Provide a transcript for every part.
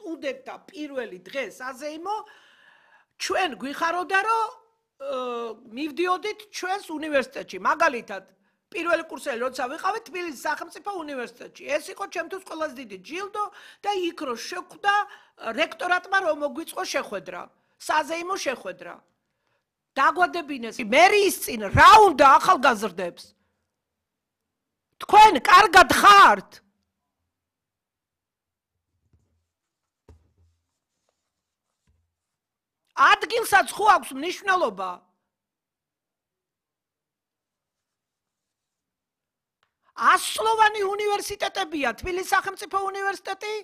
სტუდენტთა პირველი დღე საზეიმო ჩვენ გვიხაროდა რომ მივდიოდით ჩვენს უნივერსიტეტში მაგალითად პირველი კურსელი როცა ვიყავით თბილისის სახელმწიფო უნივერსიტეტში ეს იყო ჩემთვის ყველაზე დიდი ჯილდო და იქ რო შეხვდა რექტორატმა რომ მოგვიწყო შეხვედრა საზეიმო შეხვედრა დაგვადებინეს მერიის წინ რა უნდა ახალგაზრდებს თქვენ კარგად ხართ ადგილსაც ხო აქვს მნიშვნელობა ასწლოვანი უნივერსიტეტებია თბილისის სახელმწიფო უნივერსიტეტი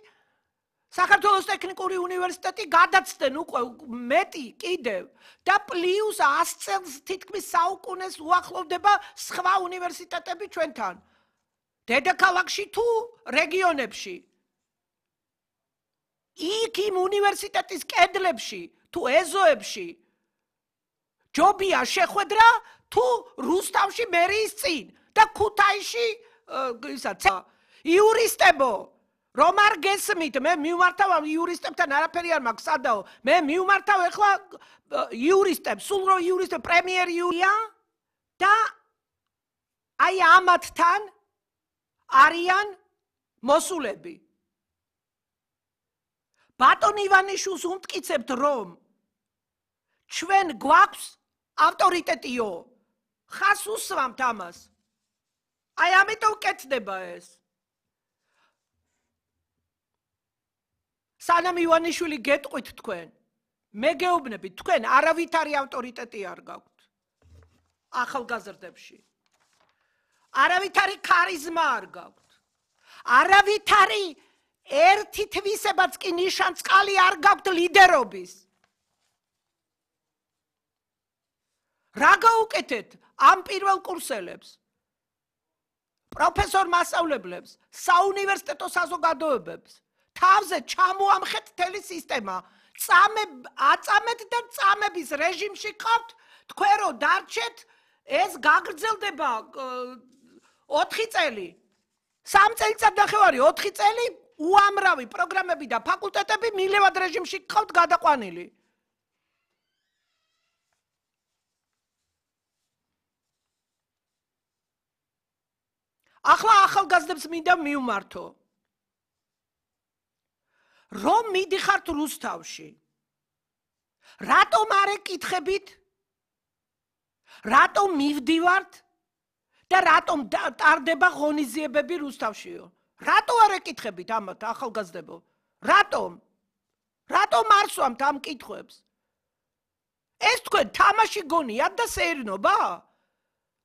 საქართველოს ტექნიკური უნივერსიტეტი გადაცდნენ უკვე მეტი კიდევ და პლუს 100 წელს თითქმის საუკუნეს უახლოვდება სხვა უნივერსიტეტები ჩვენთან დედაქალაქში თუ რეგიონებში იქ იმ უნივერსიტეტის კედლებში თუ ეზოებში ჯობია შეხვედრა თუ რუსთავში მერიის წინ და ქუთაისში იურისტებო რომ არ გესმით მე მივმართავ იურისტებთან არაფერი არ მაქვს სადაო მე მივმართავ ეხლა იურისტებს სულ რო იურისტები პრემიერ იურია და აი ამათთან არიან მოსულები ბატონ ივანიშვილს უმტკიცებთ რომ ჩვენ გვაქვს ავტორიტეტიო ხას უსვამთ ამას აი ამიტომ კეთდება ეს სანამ ივანიშვილი გეტყვით თქვენ მე გეუბნებით თქვენ არავითარი ავტორიტეტი არ გაქვთ ახალგაზრდებში არავითარი ქარიზმა არ გაქვთ არავითარი ერთი თვისებაც კი ნიშანწყალი არ გაქვთ ლიდერობის რა გაუკეთეთ ამ პირველ კურსელებს პროფესორ მასწავლებლებს საუნივერსიტეტო საზოგადოებებს თავზე ჩამოამხეთ მთელი სისტემა აწამეთ და წამების რეჟიმში ყავთ თქვენ რო დარჩეთ ეს გაგრძელდება 4 წელი 3 წელიწადნახევარი 4 წელი უამრავი პროგრამები და ფაკულტეტები მილევად რეჟიმში ყავთ გადაყვანილი ახლა ახალგაზრდებს მინდა მივმართო რომ მიდიხართ რუსთავში რატომ არ ეკითხებით რატომ მივდივართ და რატომ ტარდება ღონისძიებები რუსთავშიო რატო არ ეკითხებით ამათ ახალგაზრდებო რატომ არ სვამთ ამ კითხვებს ეს თქვენ თამაში გონიათ და სეირნობა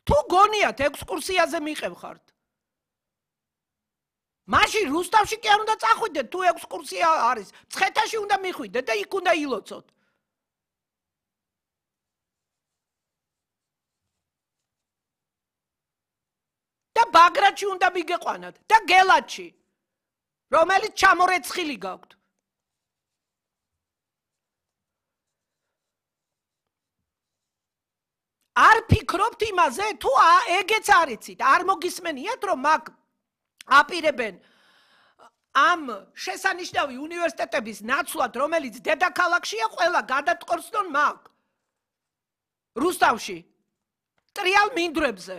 თუ გონიათ ექსკურსიაზე მიყევხართ მაშინ რუსთავში კი არ უნდა წახვიდეთ თუ ექსკურსია არის მცხეთაში უნდა მიხვიდეთ და იქ უნდა ილოცოთ და ბაგრატში უნდა მიგეყვანათ და გელათში რომელიც ჩამორეცხილი გაქვთ არ ფიქრობთ იმაზე თუ ეგეც არიცით არ მოგისმენიათ რომ მაგ აპირებენ ამ შესანიშნავი უნივერსიტეტების ნაცვლად რომელიც დედაქალაქშია ყველა გადატყორცნონ მაგ რუსთავში ტრიალ მინდვრებზე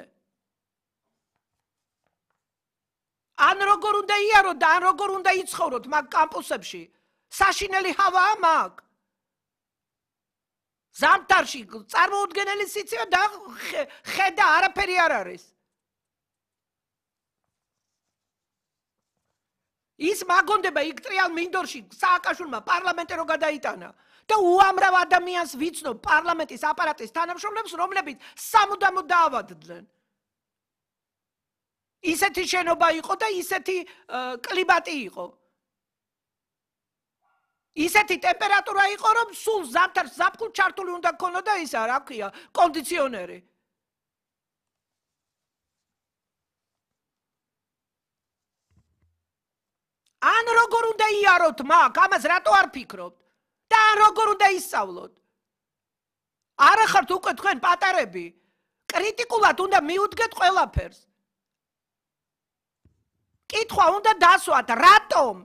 ან როგორ უნდა იაროთ და ან როგორ უნდა იცხოვროთ მაგ კამპუსებში საშინელი ჰავაა მაგ ზამთარში წარმოუდგენელი სიცივე და ხედა არაფერი არ არის ის მაგონდება იქ ტრიალ მინდორში სააკაშვილმა პარლამენტი რო გადაიტანა და უამრავ ადამიანს ვიცნობ პარლამენტის აპარატის თანამშრომლებს რომლებიც სამუდამოდ დაავადდნენ ისეთი შენობა იყო და ისეთი კლიმატი იყო ისეთი ტემპერატურა იყო რომ სულ ზამთარს ზაფხულ ჩართული უნდა ქონოდა ისა რა ქვია კონდიციონერი ან როგორ უნდა იაროთ მაგ ამას რატო არ ფიქრობთ და ან როგორ უნდა ისწავლოთ არ ახართ უკვე თქვენ პატარები კრიტიკულად უნდა მიუდგეთ ყველაფერს კითხვა უნდა დასვათ რატომ